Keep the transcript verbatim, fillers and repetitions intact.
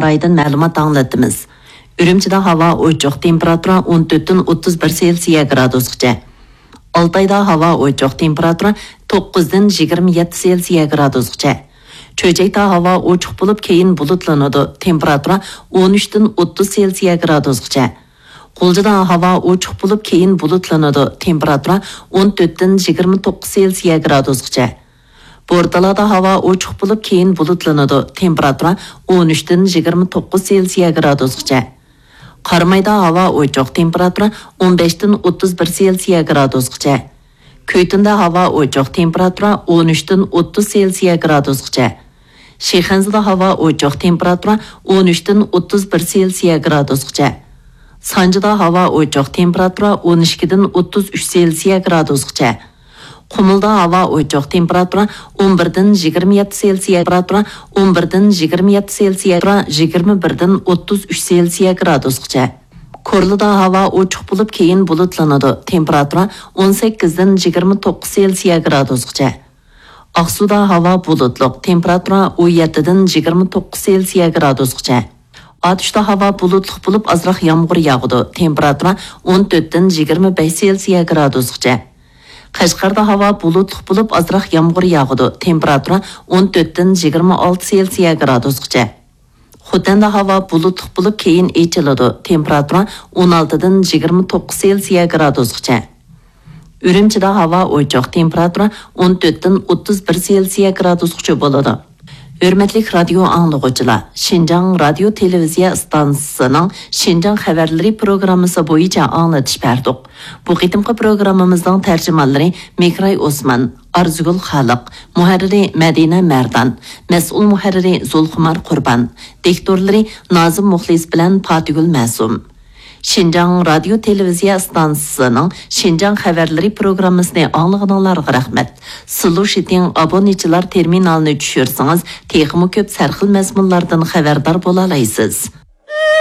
رايىدىن مەلۇمات ئاڭلىتىمىز. ئۈرۈمچىدە ھاۋا ئوچۇق، تېمپېراتۇرا ئون تۆتتىن ئوتتۇز بىر سېلسىيە گرادۇسقىچە. ئالتايدا ھاۋا ئوچۇق، تېمپېراتۇرا توققۇزدىن يىگىرمە يەتتە سېلسىيە گرادۇسقىچە. چۆچەكتە ھاۋا ئوچۇق بولۇپ، كېيىن بۇلۇتلىنىدۇ، تېمپېراتۇرا ئون ئۈچتىن ئوتتۇز سېلسىيە گرادۇسقىچە. غۇلجىدا ھاۋا ئوچۇق بولۇپ، كېيىن بۇلۇتلىنىدۇ، تېمپېراتۇرا ئون تۆتتىن يىگىرمە توققۇز سېلسىيە گرادۇسقىچە. بورتالادا ھاۋا ئوچۇق بولۇپ، كېيىن بۇلۇتلىنىدۇ، تېمپېراتۇرا ئون ئۈچتىن يىگىرمە توققۇز سېلسىيە گرادۇسقىچە. قارامايدا ھاۋا ئوچۇق، تېمپېراتۇرا ئون بەشتىن ئوتتۇز بىر سېلسىيە گرادۇسقىچە. كۈيتۇندا ھاۋا ئوچۇق، تېمپېراتۇرا ئون ئۈچتىن ئوتتۇز سېلسىيە گرادۇسقىچە. شىخەنزىدە ھاۋا ئوچۇق، تېمپېراتۇرا ئون ئۈچتىن ئوتتۇز بىر سېلسىيە گرادۇسقىچە. سانجىدا ھاۋا ئوچۇق، تېمپېراتۇرا ئون ئىككىدىن ئوتتۇز ئۈچ سېلسىيە گرادۇسقىچە. قۇمۇلدا ھاۋا ئوچۇق، تېمپېراتۇرا ئون بىردىن يىگىرمە يەتتە سېلسىيە، تېمپېراتۇرا ئون بىردىن يىگىرمە يەتتە سېلسىيە، يىگىرمە بىردىن ئوتتۇز ئۈچ سېلسىيە گرادۇسقىچە. كورلىدا ھاۋا ئوچۇق بولۇپ، كېيىن بۇلۇتلىنىدۇ، تېمپېراتۇرا ئون سەككىزدىن يىگىرمە توققۇز سېلسىيە گرادۇسقىچە. ئاقسۇدا ھاۋا بۇلۇتلۇق، تېمپېراتۇرا ئون يەتتىدىن يىگىرمە توققۇز سېلسىيە گرادۇسقىچە. ئاتۇشتا ھاۋا بۇلۇتلۇق بولۇپ، ئازراق يامغۇر ياغىدۇ، تېمپېراتۇرا ئون تۆتتىن يىگىرمە بەش سېلسىيە گرادۇسقىچە. قەشقەردە ھاۋا بۇلۇتلۇق بولۇپ، ئازراق يامغۇر ياغىدۇ، تېمپېراتۇرا ئون تۆتتىن يىگىرمە ئالتە سېلسىيە گرادۇسقىچە. خوتەندە ھاۋا بۇلۇتلۇق بولۇپ، كېيىن ئېچىلىدۇ، تېمپېراتۇرا ئون ئالتىدىن يىگىرمە توققۇز سېلسىيە گرادۇسقىچە. ئۈرۈمچىدە ھاۋا ئوچۇق، تېمپېراتۇرا ئون تۆتتىن ئوتتۇز بىر سېلسىيە گرادۇسقىچە بولىدۇ. ھۆرمەتلىك رادىيو ئاڭلىغۇچىلار، شىنجاڭ رادىيو تېلېۋىزىيە ئىستانسىسىنىڭ شىنجاڭ خەۋەرلىرى پروگراممىسى بويىچە ئاڭلىتىش بەردۇق. بۇ قېتىمقى پروگراممىمىزنىڭ تەرجىمانلىرى مىكراي ئوسمان، ئارزۇگۈل خالىق، مۇھەررىرى مەدىنە مەردان، مەسئۇل مۇھەررىرى زۇلخۇمار قۇربان، دىكتورلىرى نازىم مۇخلىس بىلەن پاتىگۈل مەسۇم. شىنجاڭ رادىيو تېلېۋىزىيە ئىستانسىسىنىڭ شىنجاڭ خەۋەرلىرى پروگراممىسىنى ئاڭلىغىنىڭلارغا رەھمەت. سىلۇ شىتىڭ ئابۇنىچىلار تېرمىنالىنى چۈشۈرسىڭىز، تېخىمۇ كۆپ سەرخىل مەزمۇنلاردىن خەۋەردار بولالايسىز.